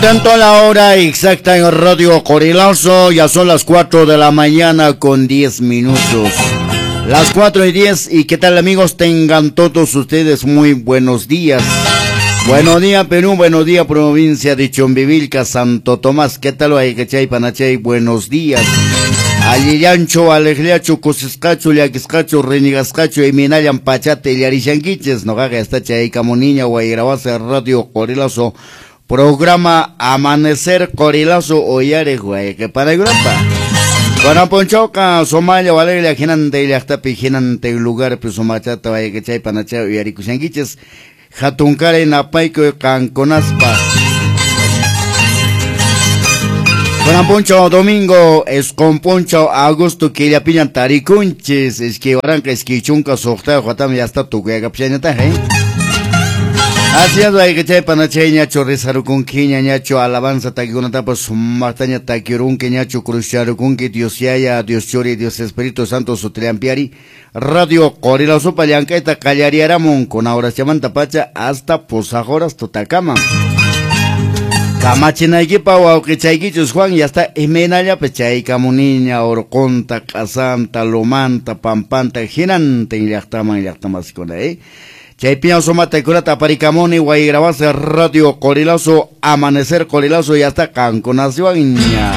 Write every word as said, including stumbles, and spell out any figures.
Atento a la hora exacta en Radio Qorilazo, ya son las cuatro de la mañana con diez minutos. Las cuatro y diez, y qué tal amigos, tengan todos ustedes muy buenos días. Buenos días Perú, buenos días provincia de Chumbivilca, Santo Tomás, qué tal Aycachay, Panachay, buenos días. Allillancho, alejliacho, kusisqacho, llakisqacho, renigasqacho, iminallan pachate, llarishanquiches, noqaqa está chaykamuniña, Wayrawasa, Radio Qorilazo. Programa Amanecer Qorilazo Oyare Guayque para Europa. Bueno, Ponchoca, Somalia, Valeria, Ginante, Llaqtapi, Ginante, lugar, Sumachata, Guayquechay, Panacha, Uyarikushanquiches, Jatunkare, Napayco, Canconaspa. Bueno, Poncho, domingo, Escomponcho, Augusto, Quillapiñan, Taricunches, Esquibaranca, Esquichunca, Socta, Juatam, ya está tu guayacapchañata, ¿eh? Así es, Guayquechay, Panachay, ñacho, rizarukunki, ñacho, alabanza, takikunatapas, sumaqtaña, takirunki, ñacho, cruzcharukunki, Dios yaya, Dios churi, Dios Espíritu Santo, sutliampiari, Radio Qorilazopa, llank'ayta qallariaramun, con horas chamanta pacha, hasta posajoras tutakama. Kamachinaykipa wawqichaykichus Juan, ya está imaynallapa chaykamuniña, urqunta, q'asanta, lumanta, pampanta, hinantin llaqtaman llaqtamasikuna, eh. Chaypiña sumata kurata aparikamuni Wayrawasa Radio Qorilazo, Amanecer Qorilazo, ya está qankunaswanña.